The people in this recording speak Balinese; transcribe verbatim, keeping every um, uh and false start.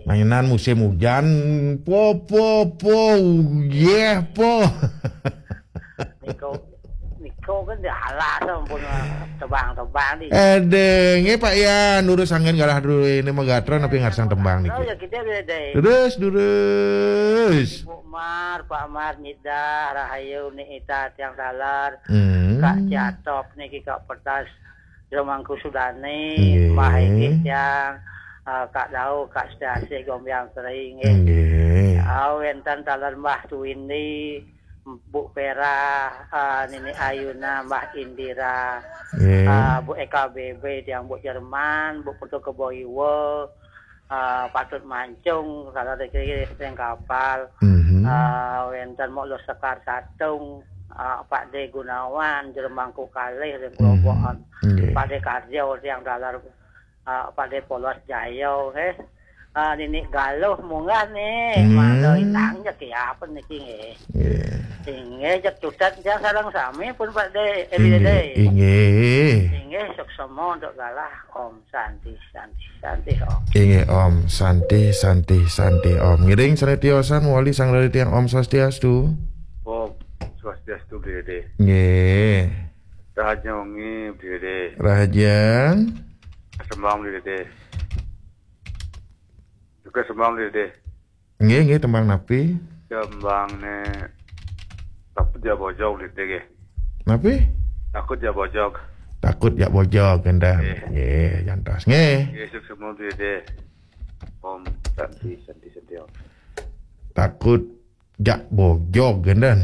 Mainan musim hujan, po, po, po, uyeh, po. Niko, niko kan dialah sampun tebang-tebang di. Aduh, nggih Pak Yan, durus anggen galah dulu ini mah gatra napi ngarsang tembang niki. Oh, ya kita beda. Terus, durus. Bu Mar, Pak Mar, Nyidah, Rahayu, Ni Ita, Tiang Talar, Hmm. Kak Ciatop niki, Kak Petas, Jero Mangku Sudani, Nggih. Mbah Egi Tiang, eh, Kak Dau, Kak Setiasih, Gombiang Kering, nggih. Nggih. Ah, wenten taler Mbah Tuwindi, Bu Pera, eh, Nini Ayuna, Mbah Indira, Nggih. eh, Bu Eka B B, Tiang Bu Jerman, Bu Putu Kebo Iwa, eh, Patut Mancung, salah riki ring kapal. Mhm. Eh, wenten Mok Lo Sekar Satung, eh, Pak De Gunawan, Jero Mangku Kalih ring Mhm. Klobokan. Nggih. Pak De Karjo, Tiang Taler, eh, Pak De Polos Jayo, nggih. Eh, Nini Galuh munggah nih, Hmm. Mangda Inang jek ya, apa niki nggih. Nggih. Inggih, jek tutet jang sareng sami pun Pak De, eh, Inggih, Dede. Inggih. Inggih, suksma untuk galah. Om Santi, Santi, Santi, Om. Inggih, Om Santi, Santi, Santi, Om. Ngiring sané tiosan wali sang dari tiang Om Swastiastu. Om Swastiastu, Bli Dede. Nggih. Rahaja wengi, Bli Dede. Rahajeng. Sembang, Bli Dede. Juga sembang, Bli Dede. Nggih, nggih, tembang napi? Tembangné Takut Jak Bojog, Bli Dede, nggih. Napi? Takut Jak Bojog. Takut Jak Bojog, kénten. Nggih. Nggih, jantos. Nggih. Nggih, suksma, Bli Dede. Om Santi, Santi, Santi, Om. Takut Jak Bojog, kénten.